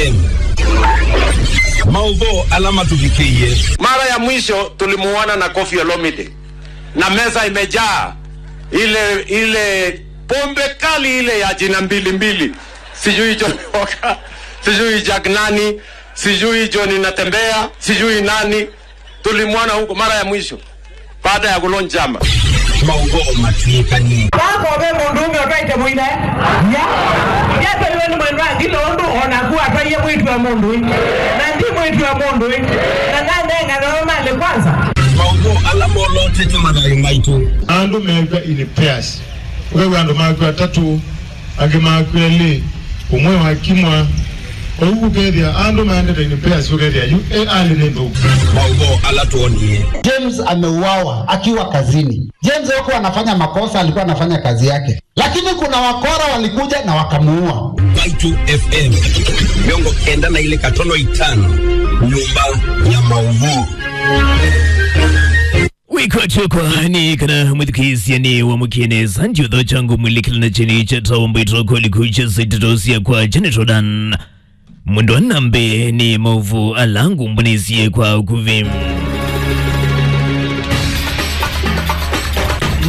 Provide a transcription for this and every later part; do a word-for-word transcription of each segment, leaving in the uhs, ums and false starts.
M. Maũvoo ala matũvikĩie. Mara ya mwisho tulimuona na Koffi Olomide na meza imejaa ile, ile pombe kali ile ya jina mbili mbili, sijui Johnny Walker, sijui Jack nani, sijui Johnny Natembea, sijui nani. Tulimwona huko mara ya mwisho baada ya kulonjama. Maũvoo matwĩkanie. Vako ve mũndũ ũmwe ũtwaĩte mũina, ya? Yatwaiwe nĩ mwendwa ngilo ũndũ o naku atwaie mwĩĩtu wa mũndũ ĩ. Na ndi mwĩĩtu wa mũndũ ĩ. Na nanengana we malĩ kwanza. Maũvoo ala molotete mathayũ maitũ. Andũ mew'a in pairs. Ũkew'a andũ makw'a atatũ, angĩ makw'a elĩ, ũmwe wakimwa. Ũu ũkethĩa andũ maendete in pairs, ũkethĩa yu e alĩ nĩ nthũku. Maũvoo ala twonie. James ameuawa akiwa kazini. James hakuwa anafanya makosa, alikuwa anafanya kazi yake. Lakini kuna wakora walikuja na wakamuua. Mbaitũ F M, mĩongo kenda na ilĩ katono itano, nyũmba ya maũvoo. Wĩkwatyo kwa nĩ kana mwĩthukĩĩsya nĩ wamũkie nesa ndiũtho kyangu mwĩlĩkĩla na kyeni kya tawa mbaitũ koliku kya ndeto sya kwa Janet Rodan. Mwendwa nambe nĩ maũvoo ala ngũmbũnĩsye kwa ũkuvĩ.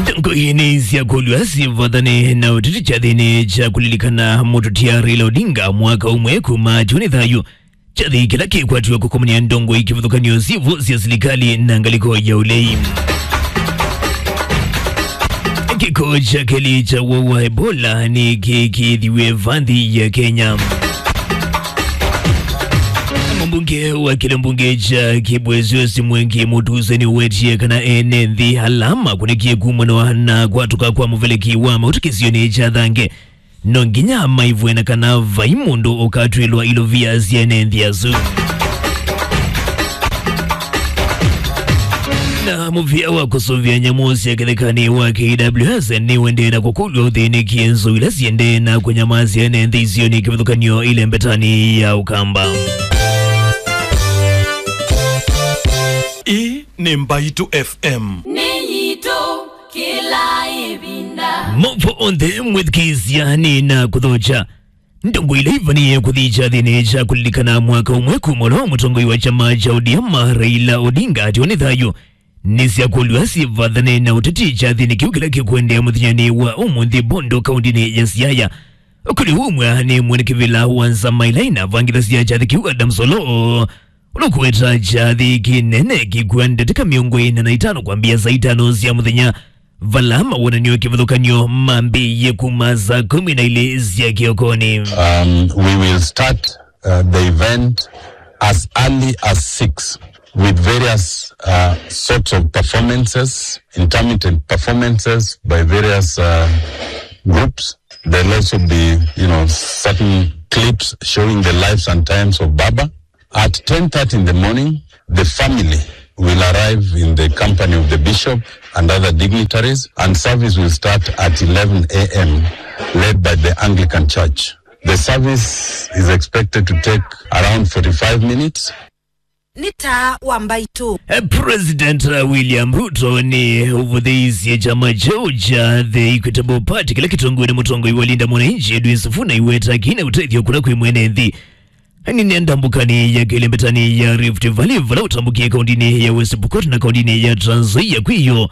Ndongo inĩ sya kũlw'a sivathane na ũteti kyathĩnĩ kya kũlilikana mũtũtia Raila Odinga mwaka ũmwe kuma kyũnĩ thayũ. Kyathĩ kĩla kĩkwatiwe kũkomania ndongo ikĩvathũkany'o syĩvo sya silikalĩ na ngalĩko ya ũlei. Kĩko kya kelĩ kya woo wa Ebola nĩkĩkĩĩthiw'e va nthĩ ya Kenya. Mũmbunge wa kĩla mbunge kya Kibwezi West Mwengi Mutuse nĩwetie kana ene nthĩ ala makũnĩkie kumana na kwatũka kwa mũveleki wa maũtũ kĩsionĩ kya Thange no nginya maivwe na kana vai mũndũ ũkatw'ĩlwa ilovia sya ene nthĩ asu. Na mũvĩa wa kũsũvĩa nyamũ sya kĩthekanĩ wa K W S nĩũendee na kũkũlw'a ũthĩnĩkie nzou ila siendee na kũnyamasya ene nthĩ isionĩ kĩvathũkany'o ĩlembetanĩ ya Ũkamba. Ĩĩ nĩ Mbaitũ F M. Nĩ yitũ. Kĩla ĩvinda. Maũvoo onthe mwĩthukĩĩsya nĩ na kũthokya. Ndongo ila ivanie kũthi kyathĩnĩ kya kũlilikana mwaka ũmwe kuma ũla wa mũtongoi wa kyama kya O D M Raila Odinga atiwa nĩ thayũ nĩsyakũlw'a sivathane na ũteti kyathĩnĩ kĩu kĩla kĩkũendeea mũthenyanĩ wa ũmũnthĩ Bondo kaũndĩnĩ ya Siaya. Kũlĩ ũmwe nĩ mwene kĩvĩla wa nzama ila inavangĩthasya kyathĩ kĩu Adams Oloo. Ũla ũkũweta kyathĩ kĩnene kĩkua ndatĩka mĩongo ĩna na itano kwambĩa saa itano sya mũthenya, vala mawonany'o kĩvathũkany'o mambĩĩie kuma saa kũmi na ilĩ sya kĩokonĩ. Um, we will start, uh, the event as early as six with various, uh, sorts of performances, intermittent performances by various, uh, groups. There'll also be, you know, certain clips showing the lives and times of Baba. At ten thirty in the morning, the family will arrive in the company of the bishop and other dignitaries, and service will start at eleven a m, led by the Anglican Church. The service is expected to take around forty-five minutes. Nĩ taa wa Mbaitũ. Eh, President, eh, William Ruto nĩ ũvũthĩisye kyama kyeũ kya The Equitable Party kĩla kĩtongoew'e nĩ mũtongoi wa Linda Mwananchi Edwin Sifuna iweta kĩna ũtethyo kũla kwĩ mwene nthĩ. Nĩnenda mbũkanĩ ya kelĩ mbetanĩ ya Rift Valley, vala ũtambũkie kaũndĩnĩ ya West Pokot na kaũndĩnĩ ya Trans Nzoia kwĩyo.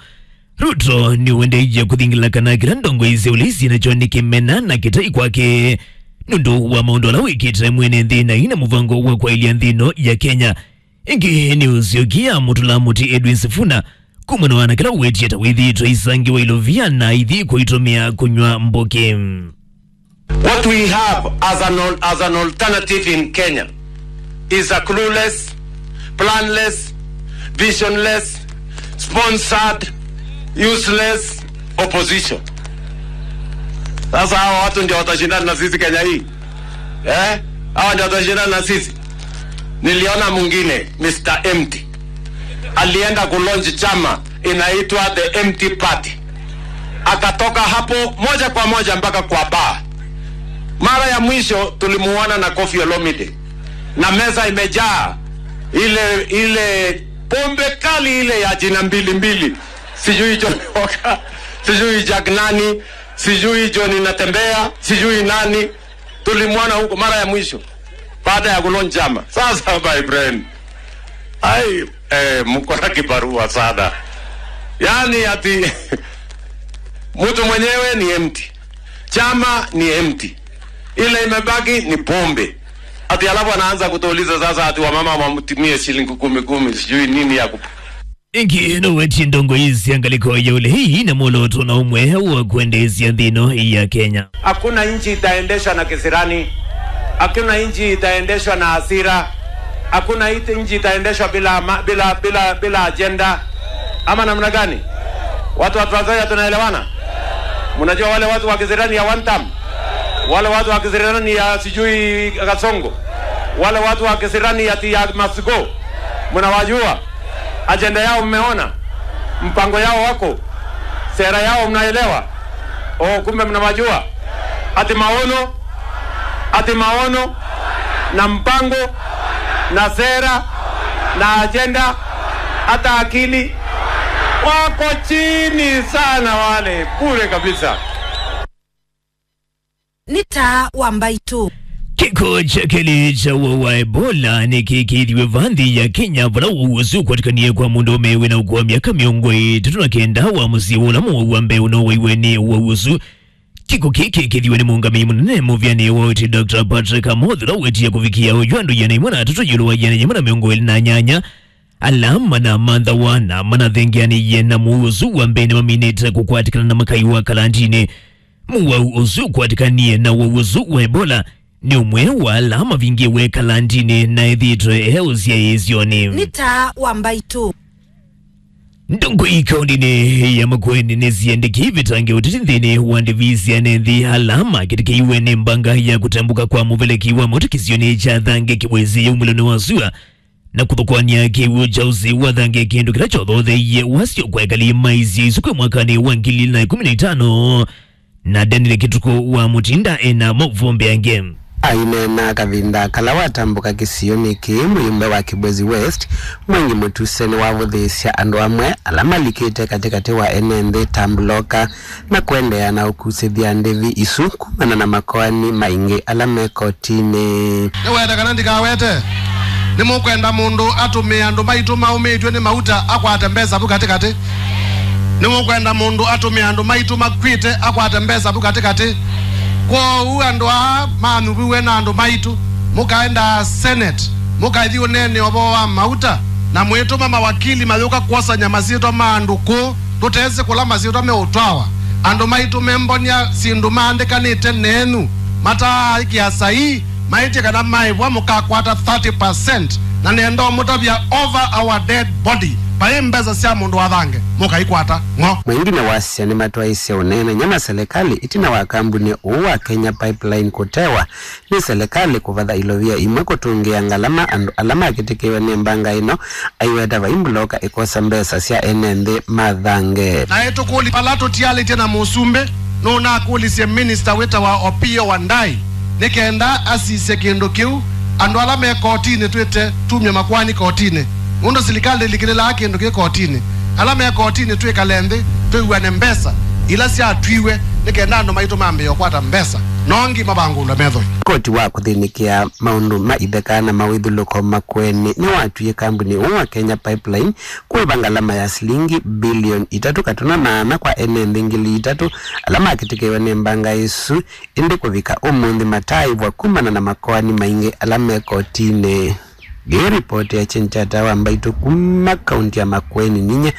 Ruto nĩũendeeie kũthingĩla kana kĩla ndongo isya ũlei syĩ nakyo nĩ kĩmena na kĩtai kwake nũndũ wa maũndũ ala wĩkĩte mwene nthĩ na ina mũvango wa kwaĩlya nthĩ ĩno ya Kenya. Ĩngĩ nĩ ũsyokie amũtũla mũtĩ Edwin Sifuna kumana na kĩla ũwetie ta wĩthĩĩtwe aisangiwa ilovia na aithi kũitũmĩa kũnyw'a mbũkĩ. What we have as an al-, as an alternative in Kenya is a clueless, planless, visionless, sponsored, useless opposition. Sasa hawa watu ndio watashindana na sisi Kenya hii? Eh? Hawa ndio watashindana na sisi? Niliona mwingine, Mister Empty. Alienda kulaunch chama inaitwa The Empty Party. Akatoka hapo moja kwa moja mpaka kwa bar. Mara ya mwisho tulimuona na Koffi Olomide. Na meza imejaa ile, ile pombe kali ile ya jina mbili mbili. Sijui Johnny Walker, sijui Jack nani, sijui Johnny Natembea, sijui nani. Tulimwona huko mara ya mwisho. Baada ya kulaunch chama. Sasa, my friend, ai, eh, mko na kibarua sana. Yaani ati mtu mwenyewe ni empty. Chama ni empty. Ile imebaki ni pombe. Ati alafu anaanza kutuuliza sasa ati wamama wamtumie shilingi kumi kumi, sijui nini ya kup- Ĩngĩ nũwetie ndongoi sya ngalĩko ya ũlei na mwolooto na ũmwe wa kwendeesya nthĩ ĩno ya Kenya. Hakuna nchi itaendeshwa na kisirani. Hakuna nchi itaendeshwa na hasira. Hakuna iti-, nchi itaendeshwa bila ama-, bila, bila, bila ajenda. Ama namna gani? Watu wa Trans Nzoia, tunaelewana? Mnajua wale watu wa kisirani ya one term? Wale watu wa kisirani ya sijui Kasongo? Wale watu wa kisirani ya, ya Masigo? Mnawajua? Ajenda yao mmeona? Mpango yao wako? Sera yao mnaelewa? Oh, kumbe mnawajua. Ati maono, ati maono na mpango na sera na ajenda, hata akili wako chini sana wale, bure kabisa. Nĩ taa wa mbaitũ. Kĩko kya kelĩ kya ũwau wa Ebola nĩkĩkĩĩthiwe va nthĩ ya Kenya, vala ũwau ũsu ũkwatĩkanie kwa mũndũũme wĩna ũkũũ wa myaka mĩongo ĩtatũ na kenda wa mũsyĩ wa ũla mũwau wa mbee ũnowaiwe nĩ ũwau ũsu. Kĩko kĩĩ kĩkĩĩthiwe nĩ mũũngamĩi mũnene mũvĩanĩ wa ũiiti Doctor Patrick Amoth, ũla ũwetie kũvikĩa oyu andũ ĩana ĩmwe na atatũ ĩũlũ wa ĩana ĩmwe na mĩongo ĩlĩ na nyanya ala manamanthawa na manathengeanĩie na mũwau ũsu wa mbee nĩmaminĩte kũkwatĩkana na makai wa kalandinĩ. Mũwau ũsu ũkwatĩkanie na ũwau ũsu wa Ebola nĩ ũmwe wa ala mavingĩwe kalandinĩ na ethĩĩtwe e ũsyaĩĩsyonĩ. Nĩ taa wa mbaitũ. Ndongoi kaũndĩnĩ ya Makueni nĩsiendekei ĩvĩtange ũteti nthĩnĩ wa ndĩvi sya ene nthĩ ala makĩtĩkĩiwe nĩ mbanga ya kũtambũka kwa mũveleki wa maũtũ kĩsionĩ kya Thange kĩwĩsĩ yaumĩlonĩ wa sua na kũthũkũany'a kĩw'ũ kya ũsĩ wa Thange, kĩndũ kĩla kyothotheie wasyo kwa ekali ma isio isu kwĩ mwakanĩ wa ngili ilĩ na ĩkũmi na itano, na Daniel Kĩtukũ wa Mũtinda ena maũvoo mbeange. Aineena kavinda kala watambũka kĩsionĩ kĩĩ, mũyumbe wa Kibwezi West, Mwangi Mũtuse, nĩwavũthĩĩsya andũ amwe ala malikĩte katĩkatĩ wa ene nthĩ ta mbuloka na kũendeea na ũkusĩthya ndĩvi isu kumana na makoani maingĩ ala me kotinĩ. Nĩwete kana ndikawete? Nĩmũkwenda mũndũ atũmĩe andũ maitũ maũmĩtw'e nĩ mauta akwate mbesa vu katĩkatĩ? Nĩmũkwenda mũndũ atũmĩe andũ maitũ makw'ĩte akwate mbesa vu katĩkatĩ? Kwoou andũ aa manyuviw'e na andũ maitũ, mũkaendaa Senate, mũkaithi ũneene ũvoo wa mauta, na mwĩtũma mawakili mayũka kwosany'a masyĩtwa ma andũ kũũ. Tũtesĩ kũla masyĩtwa meũtwawa. Andũ maitũ membonia syĩndũ maandĩkanĩte nenyu, mataaĩkĩa saii, maĩtye kana maĩvwa mũkakwata thirty percent, na nenda ũmũtavya over our dead body, vai mbesa sya mũndũ wa Thange mũkaikwata ng'o. Mwengi nĩwasya nĩmatwaĩsye ũneenany'a na selekalĩ ĩtina wa kambunĩ ũũ wa Kenya Pipeline kũtewa nĩ selekalĩ kũvatha ilovia imwe kũtũngĩa ngalama andũ ala makĩtĩkĩwe nĩ mbanga ĩno, aiweta vai mbuloka ĩkosa mbesa sya ene nthĩ ma Thange. Naĩ tũkũlya vala tũtialĩtye na mũsumbĩ, nũnakũlisye minista wĩtawa Opiyo Wandayi nĩ kenda asisye kĩndũ kĩu. Andũ ala me kotinĩ twĩte tumye makoani kotinĩ, nũndũ silikalĩ ndĩlikĩlĩlaa kĩndũ kĩ kotinĩ. Ala me kotinĩ twĩkale nthĩ twĩw'ane mbesa ila syatwiwe nĩ kenda andũ maitũ mambĩĩe ũkwata mbesa, no ngima vangũlwa methoi. Koti wa kũthĩnĩkĩa maũndũ ma itheka na mawĩthũlũko Makueni nĩwatwie kambuni ũũ wa Kenya Pipeline kũĩva ngalama ya silingi bilioni itatũ katũna na ana kwa ene nthĩ ngili itatũ ala makĩtĩkĩwe nĩ mbanga ĩsu, ĩndĩ kũvika ũmũnthĩ mataaĩvwa kumana na makoani maingĩ ala me kotinĩ. Ĩĩ ripoti ya Chenchata wa Mbaitũ kuma kaunti ya Makueni, ninyie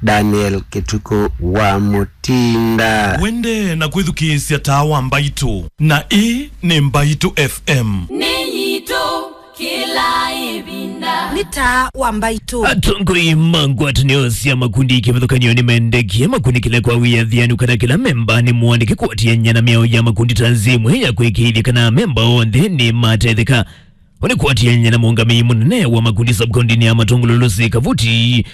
Daniel Kĩtukũ wa Mũtinda. Wende na kwĩthukĩĩsya Taa wa Mbaitũ, na ĩĩ nĩ Mbaitũ F M. Nĩ yitũ kĩla ĩvinda. Nĩ Taa wa Mbaitũ. Atongoi ma ngwatanĩo sya makundi kĩvathũkany'o nĩmendekie makunĩkĩle kwa wĩathĩanu kana kĩla memba nĩ mũandĩke kũatĩanĩa na mĩao ya makundi ta nzĩa ĩmwe ya kwĩkĩĩthya kana amemba onthe nĩ matetheka. Ũnĩ kũatĩanĩa na mũũngamĩi mũnene wa makundi sub-kauntinĩ ya Matũngũlũ Lucy Kavuti,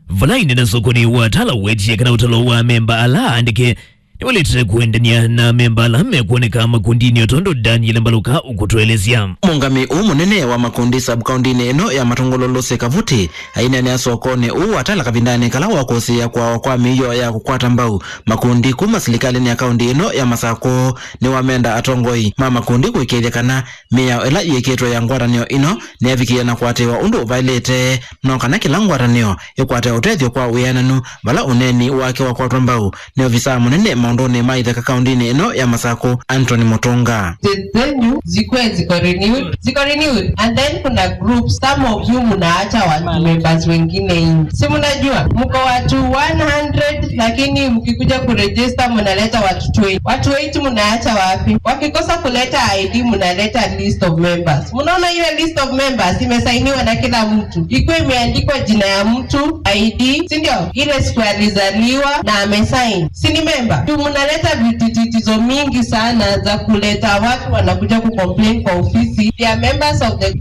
vala ĩnena sokonĩ wa Tala wetie kana ũtalo wa amemba ala aandĩke nĩwalĩte kũendany'a na amemba ala mekwoneka makundinĩ, o tondũ Daniel Mbaluka ũkũtũelesya. Mũũngamĩi ũũ mũnene wa makundi sub-kaũndĩnĩ ĩno ya Matũngũlũ, Lucy Kavuti, aineenea sokonĩ ũũ wa Tala kavindanĩ kala wa kũsĩĩa kwawa kwa mĩio ya kũkwata mbau makundi kuma silikalĩnĩ ya kaũndĩ ĩno ya Masakũ. Nĩwamenda atongoi ma makundi kũĩkĩĩthya kana mĩao ĩla yĩkĩtwe ya ngwatanĩo ĩno nĩyavikĩĩa na kũatĩĩwa ũndũ ũvaĩlĩte, no kana kĩla ngwatanĩo ĩkwate ũtethyo kwa wĩananu, vala ũneeni wake wakwatwa mbau nĩ ovisaa mũnene maũndũnĩ ma itheka kaũndĩnĩ ĩno ya Masakũ, Anthony Mũtũnga. State zenyu zikuwe ziko renewed, ziko renewed, and then kuna groups, some of you mnaacha watu members wengine nje, si mnajua mko watu one hundred, lakini mkikuja kuregister mnaleta watu twenty. Watu eight mnaacha wapi? Wakikosa kuleta I D mnaleta list of members. Mnaona ile list of members imesainiwa na kila mtu, ikuwa imeandikwa jina ya mtu, I D, si ndio? Ile siku alizaliwa na amesign, si ni member? Juu mnaleta vitititizo mingi sana za kuleta watu wanakuja kucomplain kwa ofisi, they are members of the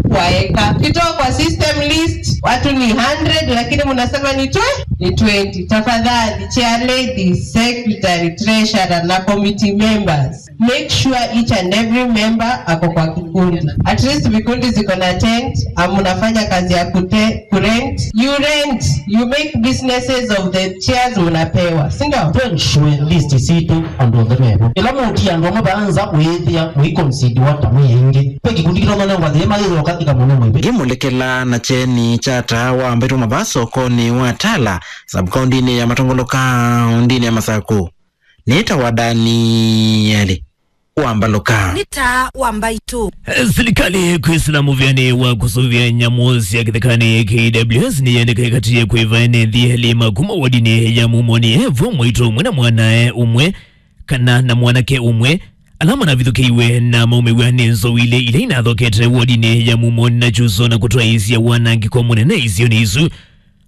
kuwaeka. Kitoa kwa system list, watu ni hundred, lakini mnasema ni twe-, ni twenty. Tafadhali, chair lady, secretary, treasurer na committee members, make sure each and every member ako kwa kikundi. At least vikundi ziko na tent, ah, mnafanya kazi ya kute-, kurent. You rent, you make businesses of the chairs mnapewa, si ndio? To ensure list sitũ andũ onthe mevo. Ĩla mũtia andũ amwe vaanza ũyĩthĩa mũiconsidiwa ta mwĩ aingĩ. Ve kikundi kĩtononengwa thĩĩ mayĩthĩwa katika mũno mwĩvĩ. Ngĩmũlekela na kyeni kya taa wa mbaitũ mavaa sokonĩ wa Tala, sub-kaũndĩnĩ ya Matũngũlũ kaũndĩnĩ ya Masakũ. Nĩtawa Danieli wa Mbaluka. Nĩ taa wa mbaitũ. Silikalĩ kwĩsĩla mũvĩanĩ wa kũsũvĩa nyamũ sya kĩthekanĩ, K W S nĩyendeka ĩkatie kwĩva ene nthĩ elĩ ma kuma wodinĩ ya Mumoni, Evo Mwaitũ ũmwe na mwanae ũmwe, kana na mwanake ũmwe, ala manavithũkĩiwe na maumĩw'a nĩ nzou ilĩ ila inathokete wodinĩ ya Mumoni na Kyuso na kũtwaĩĩsya wanangĩko mũnene isionĩ isu.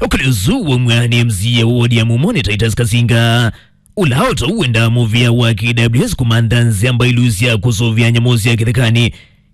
Ũkũlyo ũsu waumw'a nĩ M C A wa wodi ya Mumoni, Titus Kasinga, ũla o tau wendaa mũvĩa wa K W S kũmantha nzĩa mbailu sya kũsũvĩa nyamũ sya kĩthekanĩ,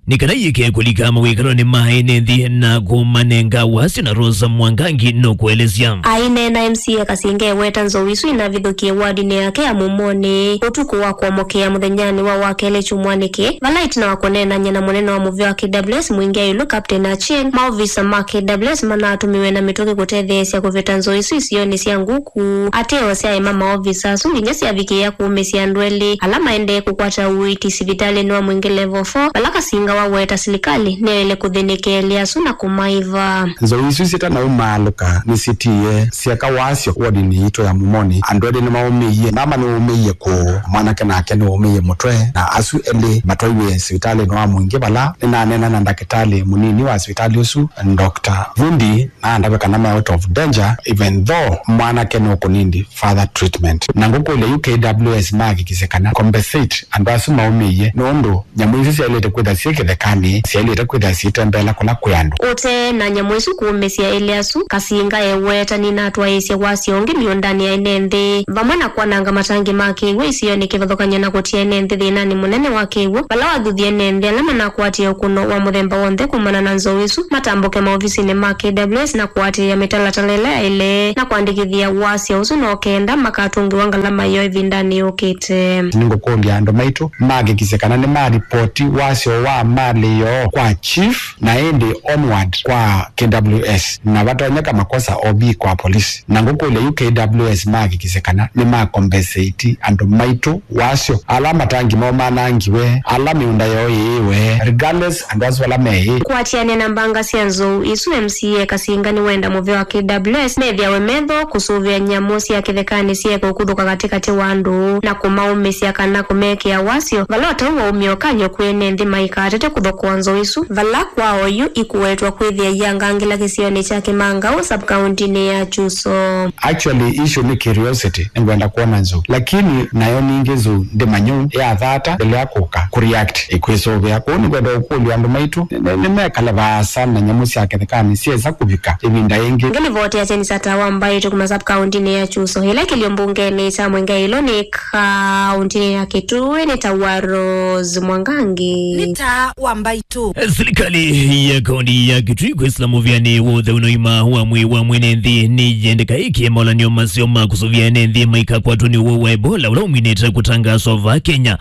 nĩ kana iĩke kũlika mawĩkalonĩ ma ene nthĩ na kũmanenga wasyo na Rosa Mwangangi nũkũelesya. Aineena, M C A Kasinga eweta nzou isu inavithũkie wardinĩ yake ya Mumoni ũtukũ wa kũomokea mũthenyanĩ wa Wakelĩ kyumwanĩ kĩĩ, vala ĩtina wa kũneenany'a na mũnene wa mũvĩa wa K W S Mwingĩ Ayulu, Captain Achieng, maovisa ma K W S manatũmiwe na mĩtũkĩ kũtetheesya kũvĩta nzou isu isionĩ sya Nguku. Ateo syaema maovisa asu nginya syavikĩĩa kũũmĩsya andũ elĩ ala maendee kũkwata ũiiti sivitalĩnĩ wa Mwingĩ Level four, vala Kasinga waweta silikalĩ nĩyaĩle kũthĩnĩkĩa elĩ asu na kũmaĩva. Nzou isu syĩtanaumaalũka nĩsyĩtiie syeka wasyo wodinĩ yitũ ya Mumoni. Andũ elĩ nĩmaũmĩie. Mama nĩwaũmĩie kũũ, mwanake nake nĩwaũmĩie mũtwe, na asu elĩ matwaiwe sivitalĩnĩ wa Mwingĩ, vala nĩnaneena na ndakĩtalĩ mũnini wa sivitalĩ ũsu, Doctor Vundi, na andavya kana me out of danger, even though mwanake nũkũnindi further treatment. Na ngũkũlya yu K W S mahakikisye kana compensate andũ asu maũmĩie, nũndũ nyamũ isu syaĩlĩte kwĩtha syĩ kĩthekanĩ, syaĩlĩte kwĩtha syĩtembeela kũla kwĩ andũ. Ũtee na nyamũ isu kũũmĩsya elĩ asu, Kasinga eweta nĩnatwaĩĩsye wasyo ũngĩ mĩũndanĩ ya ene nthĩ, vamwe na kwananga matangi ma kĩw'ũ isionĩ kĩvathũkany'o na kũtia ene nthĩ thĩnanĩ mũnene wa kĩw'ũ, vala wathuthie ene nthĩ ala manakwatie ũkũno wa mũthemba w'onthe kumana na nzou isu matambũke maovisinĩ ma K W S na kũatĩĩa mĩtalatala ĩla yaĩle na kũandĩkĩthya wasyo ũsu no kenda makatũngĩwa ngalama yoo ĩvindanĩ yũkĩte. Nĩngũkũlya andũ maitũ mahakikisye kana nĩmaripoti wasyo wa malĩ yoo kwa chief na ĩndĩ onward kwa K W S, na vatonyeka makosa O B kwa polisi. Na ngũkũlya yu K W S mahakikisye kana nĩmakombesĩti andũ maitũ wasyo, ala matangi moo manangiwe, ala mĩũnda yoo yĩĩwe, regardless andũ asu ala meĩ. Kũatĩanĩa na mbanga sya nzou isu, M C A Kasinga nĩwenda mũvĩa wa K W S methĩawe metho kũsũvĩa nyamũ sya kĩthekanĩ syeeka ũkuthũka katĩkatĩ wa andũ na kũmaũmĩsya kana kũmekĩa wasyo, vala o tau waumya ũkany'o kwĩ ene nthĩ maikatete kũthokea nzou isu, vala kwa oyu ikũwetwa kwĩthĩa iangangĩla kĩsionĩ kya Kĩmangaũ, sub-kaũntĩnĩ ya Kyuso. Actually, issue nĩ curiosity, nĩngwenda kwona nzou. Lakini nayo ningĩ nzou ndĩmanyũ yathata mbele ya kũka kũreact, ĩkwĩsũvĩa. Kwoou nĩngwenda ũkũlya andũ maitũ nĩ-, nĩ-, nĩmekale vaasa na nyamũ sya kĩthekanĩ syesa kũvika ĩvinda yĩngĩ. Ngĩlivoti ya Kyeni kya Taa wa Mbaitũ kuma sub-kaũntĩnĩ ya Kyuso, ĩla ĩkĩlyo mbungenĩ kya Mwingĩ Ayulu nĩ kaũntĩnĩ ya Kitui, nĩtawa Rose Mwangangi. Nĩ taa wa Mbaitũ. Silikalĩ ya kaũntĩ ya Kitui kwĩsĩla mũvĩanĩ wa ũtheu na ũima wa mwĩĩ wa mwene nthĩ nĩyendeka ĩkĩe maũlanĩo maseo ma kũsũvĩa ene nthĩ maikakwatwa nĩ ũwau wa Ebola ũla ũminĩte kũtangaswa vaa Kenya.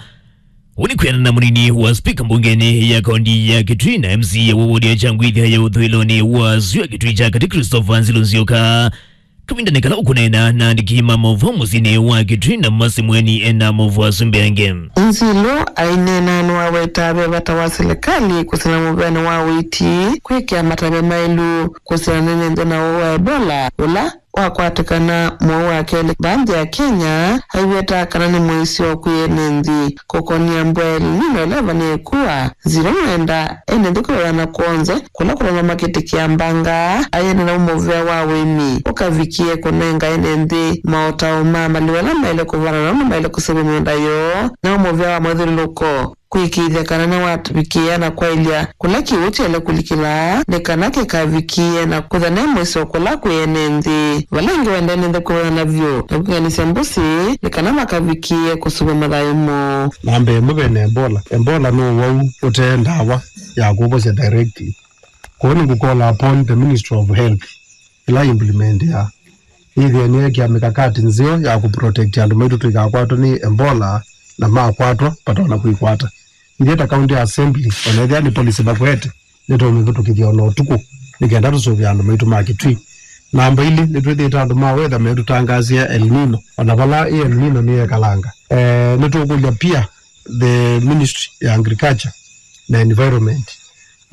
Ũu nĩ kwĩanana na mũnini wa spika mbungenĩ ya kaũntĩ ya Kitui na M C A wa wodi ya Kyangwithya ya ũthũĩlonĩ wa Sua Kitui kya Katĩ, Christopher Nzilu Nzioka. Kavindanĩ kala ũkũneena na andĩki ma maũvoo mũsyĩnĩ wa Kitui na Masemweni ena maũvoo asu mbeange. Nzilu aineena nĩwaweta ve vata wa silikalĩ kũsila mũvĩanĩ wa ũiiti, kwĩkĩa matavya maĩlu kũsila na ene nthĩ na ũwau wa Ebola ũla wakwatĩkana mwei wa kelĩ vaa nthĩ ya Kenya, aiweta kana nĩ mũisyo kwĩ ene nthĩ kũkonia mbua ya El Nino ĩla ĩvanĩe kua. Nzilu nĩwenda ene nthĩ kwĩw'ana kwonze kũla kũtonya makĩtĩkĩa mbanga, aianĩla mũvĩa wa ũĩmi ũkavikĩe kũnenga ene nthĩ maũtao ma malĩu ala maĩle kũvanda na ũndũ maĩle kũseũvya mĩũnda yoo, na mũvĩa wa mathyũlũlũko kũĩkĩĩthya kana nĩwavikĩĩa na kwaĩlya kũla kĩw'ũ kyaĩle kũlikĩla nĩ kana kĩkavikĩe na kwĩthwa ne mũisyo kũla kwĩ ene nthĩ. Vala ĩngĩ wenda ene nthĩ kwĩw'ana vyũ na kwĩkangĩsya mbũsĩ nĩ kana makavikĩĩe kũseũvya mathayũ moo. Namba ĩmwe ve na Ebola. Ebola nĩ ũwau ũte ndawa ya kũvosya direct. Kwoou nĩngũcall upon the Ministry of Health ĩla implement ya yĩthĩe nĩyekĩa mikakati nzeo ya kũprotect andũ maitũ tũikakwatwe nĩ Ebola, na makwatwa vatona kwĩkwata. Ithyĩ ta County Assembly, ona ethĩa nĩ policy makwete, nĩtũũmĩvĩtũkĩthya ona ũtukũ nĩ kenda tũsũvĩe andũ maitũ ma Kitui. Namba ilĩ, nĩtwĩthĩĩte andũ ma weather metũtangaasĩa El Nino, ona vala ĩ El Nino nĩyekalanga. Eh, nĩtũkũlya pia the Ministry ya Agriculture na Environment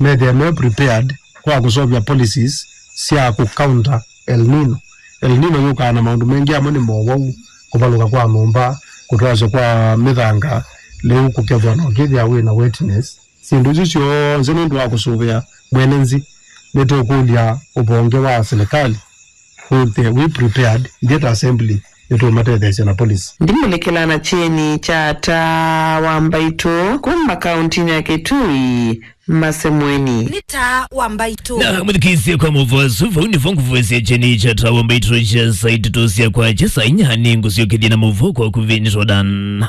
methĩe me prepared kwa kũseũvya policies sya kũ counter El Nino. El Nino yũkaa na maũndũ maingĩ, amwe nĩ mowau, kũvalũka kwa nyũmba, kũtwasya kwa mĩthanga, lĩu kũkethwa na ũkĩthĩa wĩ na wetness. Syĩndũ isu syonthe nũndũ wa kũsũvĩa mwene nthĩ, nĩtũkũlya ũvonge wa silikalĩ wĩthĩe wĩ prepared. Ithyĩ ta assembly nĩtũũmatetheesya na policy. Ndimũlĩkĩla na kyeni kya Taa wa Mbaitũ kuma kauntinĩ ya Kitui, Masemweni. Nĩ Taa wa Mbaitũ. Na mũthikĩĩsye kwa maũvoo asu, vau nĩvo ngũvoesya kyeni kya Taa wa Mbaitũ kya saa itatũ sya kwakya. Saa inya nĩngũsyokethya na maũvoo kwa ũkuvĩ. Nĩ Jordan